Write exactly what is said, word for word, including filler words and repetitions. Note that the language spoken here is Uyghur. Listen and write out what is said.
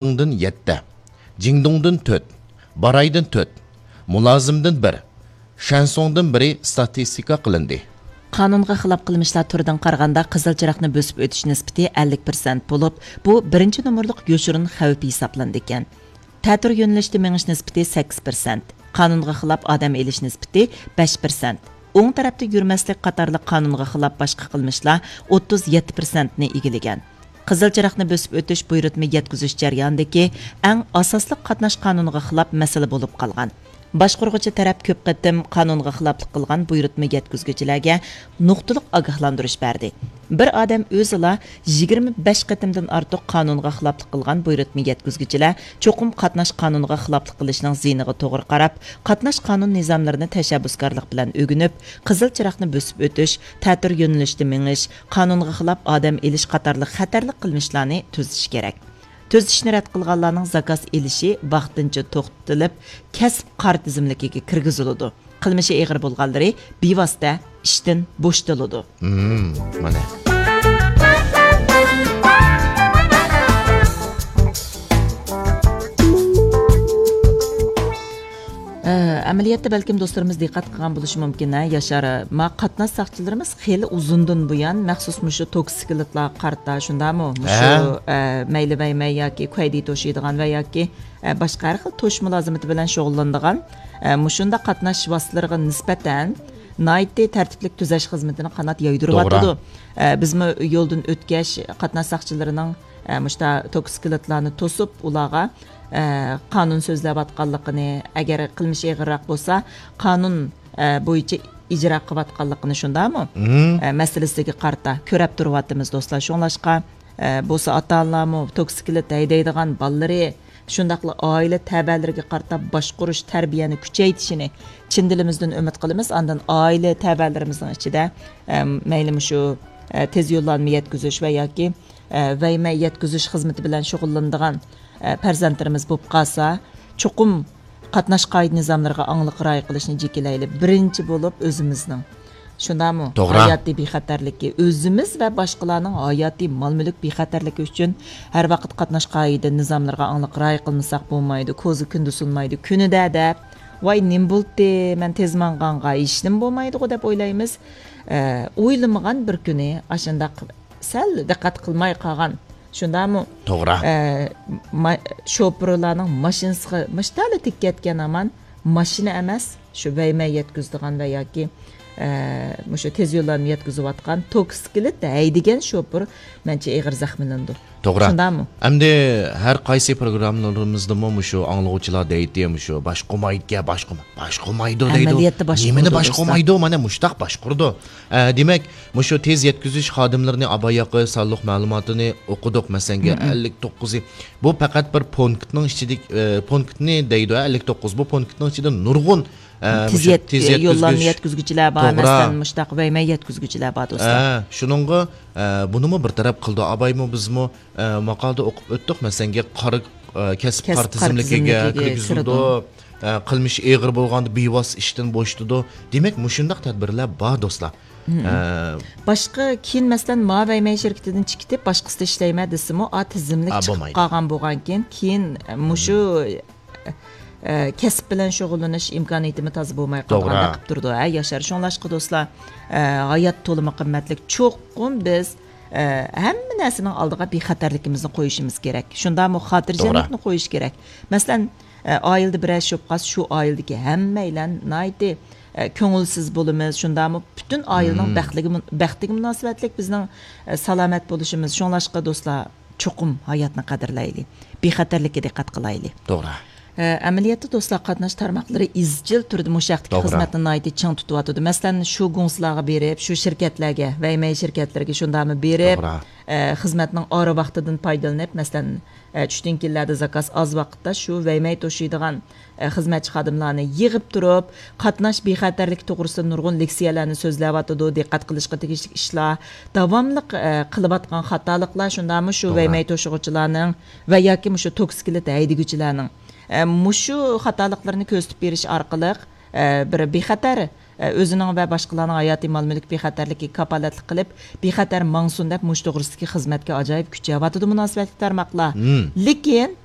جىڭدۇڭدىن يەتتە، جىڭدۇڭدىن تۆت، بارايدىن تۆت، مۇلازىمدىن بىر، شەنسۇڭدىن بىرى ستاتىستىكا قىلىندى. قانۇنغا خىلاپ قىلمىشلار تۈرىدىن قارىغاندا، قىزىل چىراغنى بۆسۈپ ئۆتۈش نىسبىتى ئەللىك پىرسەنت بولۇپ، بۇ بىرىنچى نومۇرلۇق يوشۇرۇن خەۋپ ھېسابلىنىدىكەن. تەتۈر يۆنىلىشتە مېڭىش نىسبىتى سەككىز پىرسەنت، قانۇنغا خىلاپ ئادەم ئېلىش نىسبىتى بەش پىرسەنت، ئوڭ تەرەپتە يۈرمەسلىك قاتارلىق قانۇنغا خىلاپ باشقا قىلمىشلار ئوتتۇز يەتتە پىرسەنتنى ئىگىلىگەن. قىزىل چىراغنى بۆسۈپ ئۆتۈش بۇيرۇتما يەتكۈزۈش جەريانىدىكى ئەڭ ئاساسلىق قاتناش قانۇنىغا خىلاپ مەسىلە بولۇپ قالغان. باشقۇرغۇچى تەرەپ كۆپ قېتىم قانۇنغا خىلاپلىق قىلغان بۇيرۇتما يەتكۈزگۈچىلەرگە نۇقتىلىق ئاگاھلاندۇرۇش بەردى. بىر ئادەم ئۆزىلا يىگىرمە بەش قېتىمدىن ئارتۇق قانۇنغا خىلاپلىق قىلغان بۇيرۇتما يەتكۈزگۈچىلەر چوقۇم قاتناش قانۇنىغا خىلاپلىق قىلىشنىڭ زىيىنىغا توغرا قاراپ، قاتناش قانۇن نىزاملىرىنى تەشەببۇسكارلىق بىلەن ئۆگىنىپ، قىزىل چىراغنى بۆسۈپ ئۆتۈش، تەتۈر يۆنىلىشتە مېڭىش، قانۇنغا خىلاپ ئادەم ئېلىش قاتارلىق خەتەرلىك قىلمىشلارنى تۈزىتىش كېرەك. تۈزىتىشنى رەت قىلغانلارنىڭ زاكاز ئېلىشى ۋاقتىنچە توختىتىلىپ، كەسىپ قارا تىزىملىكىگە كىرگۈزۈلىدۇ. قىلمىشى ئېغىر بولغانلىرى بىۋاسىتە ئىشتىن بوشىتىلىدۇ. مم، مانا. ئە، ئەمەلىيەتتە بەلكىم دوستلىرىمىز دىققەت قىلغان بولۇشى مۇمكىن، ھە، ياشار. ما قاتناش ساقچىلىرىمىز خېلى ئۇزۇندىن بۇيان مەخسۇس مۇشۇ توكسىكلىتلارغا قارىتا، شۇنداقمۇ؟ مۇشۇ، ھە. ئە، مەيلى ۋەيمەي ياكى كۇەيدى توشۇيدىغان ۋە ياكى، ئە، باشقا ھەر خىل توشۇش مۇلازىمىتى بىلەن شۇغۇللىنىدىغان، ئە، مۇشۇنداق قاتناش ۋاسىتىلىرىغا نىسبەتەن ناھايىتى تەرتىپلىك تۈزەش خىزمىتىنى قانات يايدۇرۇۋاتىدۇ. توغرا. ئە، بىزمۇ يولدىن ئۆتكەچ قاتناش ساقچىلىرىنىڭ، ئە، مۇشتا توكسىكلىتلارنى توسۇپ، ئۇلارغا، ئە، قانۇن سۆزلەۋاتقانلىقىنى، ئەگەر قىلمىش ئېغىرراق بولسا، قانۇن، ئە، بويىچە ئىجرا قىلىۋاتقانلىقىنى، شۇنداقمۇ؟ مم. ئە، مەسىلىسىگە قارىتا كۆرەپ تۇرۇۋاتىمىز، دوستلار. شۇڭلاشقا، ئە، بولسا ئاتا-ئانىلارمۇ توكسىكلىت ھەيدەيدىغان بالىلىرى، شۇنداقلا ئائىلە تەۋەلىرىگە قارىتا باشقۇرۇش، تەربىيەنى كۈچەيتىشىنى چىن دىلىمىزدىن ئۈمىد قىلىمىز. ئاندىن ئائىلە تەۋەلىرىمىزنىڭ ئىچىدە، ئە، مەيلى مۇشۇ، ئە، تېز يوللانما يەتكۈزۈش ۋە ياكى، ئە، ۋەيمەي يەتكۈزۈش خىزمىتى بىلەن شۇغۇللىنىدىغان، ئە، پەرزەنتلىرىمىز بولۇپ قالسا، چوقۇم قاتناش قائىدە نىزاملىرىغا ئاڭلىق رىئايە قىلىشنى جېكىلەيلى. بىرىنچى بولۇپ ئۆزىمىزنىڭ. شۇنداقمۇ؟ توغرا. ھاياتىي بىخەتەرلىكى، ئۆزىمىز ۋە باشقىلارنىڭ ھاياتىي مال-مۈلۈك بىخەتەرلىكى ئۈچۈن ھەر ۋاقىت قاتناش قائىدە نىزاملىرىغا ئاڭلىق رىئايە قىلمىساق بولمايدۇ، كوزا كۈندە سۇنمايدۇ، كۈنىدە دەپ، ۋاي، نېمە بولدى، مەن تېز ماڭغانغا ھېچنېمە بولمايدىغۇ دەپ ئويلايمىز. ئە، ئويلىمىغان بىر كۈنى ئاشۇنداق سەل دىققەت قىلماي قالغان. شۇنداقمۇ؟ توغرا. ئە، ما-، شوپۇرلارنىڭ ماشىنىسىغا مۇشتەلە تېگىپ كەتكەن ھامان ماشىنا ئەمەس، شۇ ۋەيمەي يەتكۈزىدىغان ۋە ياكى، ئە، مۇشۇ تېز يوللارنى يەتكۈزۈۋاتقان توكسىكلىت ھەيدىگەن شوپۇر مەنچە ئېغىر زەخىملىنىدۇ. توغرا. شۇنداقمۇ؟ ئەمدى ھەر قايسى پروگراممىلىرىمىزدىمۇ مۇشۇ ئاڭلىغۇچىلار دەيتتى، مۇشۇ باشقۇرمايدىكەن، باشقۇرما-، باشقۇرمايدۇ دەيدۇ. ئەمەلىيەتتە باشقۇرىدۇ، نېمىنى دوستلار. باشقۇرمايدۇ؟ مانا مۇشتاق باشقۇرىدۇ. ئە، دېمەك، مۇشۇ تېز يەتكۈزۈش خادىملىرىنى ئاباياقى سانلىق مەلۇماتىنى ئوقۇدۇق، مەسەلەنگە، مم. ئەللىك توققۇزى. بۇ پەقەت بىر پونكىتنىڭ ئىچىدىكى، ئە، پونكىتنى دەيدۇ، ئەللىك توققۇز. بۇ پونكىتنىڭ ئىچىدە نۇرغۇن، ئە، تېز مۇشۇ يەت-، تېز يوللانما يەتكۈزگۈچ. يەتكۈزگۈچىلەر بار، توغرا. مەسىلەن، مۇشتاق ۋەيمەي يەتكۈزگۈچىلەر بار، دوستلار. ئە، شۇنىڭغا، ئە، بۇنىمۇ بىر تەرەپ قىلدى. ئابايمۇ بىزمۇ، ئە، ماقالىدە ئوقۇپ ئۆتتۇق، مەسەلەنگە، قارا، ئە، كەسىپ كەسىپ قارا قارا تىزىملىكىگە تىزىملىكىگە كىرگۈزۈلىدۇ. كىرىدۇ. ئە، قىلمىشى ئېغىر بولغاندا بىۋاسىتە ئىشتىن بوشىتىدۇ. دېمەك، مۇشۇنداق تەدبىرلەر بار، دوستلار. مم. ئە، باشقا كېيىن، مەسىلەن، ما ۋەيمەي شىركىتىدىن چىقىپ، باشقىسىدا ئىشلەيمەن دېسىمۇ، ئا، تىزىملىك ئا، چىقىپ بولمايدۇ. قالغان بولغانكىن، كېيىن، ئە، مۇشۇ، ئە، كەسىپ بىلەن شۇغۇللىنىش ئىمكانىيىتىمۇ تازا بولماي قالىدىغاندەك توغرا. قىلىپ تۇرىدۇ، ھە، ياشار. شۇڭلاشقا، دوستلار، ئە، ھايات تولىمۇ قىممەتلىك. چوقۇم بىز، ئە، ھەممە نەرسىنىڭ ئالدىغا بىخەتەرلىكىمىزنى قويۇشىمىز كېرەك. شۇنداقمۇ خاتىرجەملىكنى توغرا. قويۇش كېرەك. مەسىلەن، ئە، ئائىلىدە بىرەر ئىش بولۇپ قالسا، شۇ ئائىلىدىكى ھەممەيلەن ناھايىتى، ئە، كۆڭۈلسىز بولىمىز. شۇنداقمۇ پۈتۈن ئائىلىنىڭ مم. بەختلىكى مۇن-، بەختىگە مۇناسىۋەتلىك بىزنىڭ، ئە، سالامەت بولۇشىمىز. شۇڭلاشقا، دوستلار، چوقۇم ھاياتنى قەدىرلەيلى، بىخەتەرلىككە دىققەت قىلايلى. توغرا. ئە، ئەمەلىيەتتە، دوستلار، قاتناش تارماقلىرى ئىزچىل تۈردە مۇشۇ ھەقتىكى توغرا. خىزمەتنى ناھايىتى چىڭ تۇتۇۋاتىدۇ. مەسىلەن، شۇ گۇڭسىلارغا بېرىپ، شۇ شىركەتلەرگە، ۋەيمەي شىركەتلىرىگە شۇنداقمۇ بېرىپ، توغرا. ئە، خىزمەتنىڭ ئارا ۋاقتىدىن پايدىلىنىپ، مەسىلەن، ئە، چۈشتىن كېيىنلەردە زاكاز ئاز ۋاقىتتا شۇ ۋەيمەي توشۇيدىغان، ئە، خىزمەتچى خادىملارنى يىغىپ تۇرۇپ، قاتناش بىخەتەرلىكى توغرىسىدا نۇرغۇن لېكسىيەلەرنى سۆزلەۋاتىدۇ، دىققەت قىلىشقا تېگىشلىك ئىشلار، داۋاملىق، ئە، قىلىۋاتقان خاتالىقلار، شۇنداقمۇ شۇ توغرا. ۋەيمەي توشۇغۇچىلارنىڭ ۋە ياكى مۇشۇ توكسىكلىت ھەيدىگۈچىلەرنىڭ، ئە، مۇشۇ خاتالىقلىرىنى كۆرسىتىپ بېرىش ئارقىلىق، ئە، بىر بىخەتەر، ئە، ئۆزىنىڭ ۋە باشقىلارنىڭ ھاياتىي مال-مۈلۈك بىخەتەرلىكىگە كاپالەتلىك قىلىپ، بىخەتەر ماڭسۇن دەپ، مۇشۇ توغرىسىدىكى خىزمەتكە ئاجايىپ كۈچەۋاتىدۇ مۇناسىۋەتلىك تارماقلار. مم. لېكىن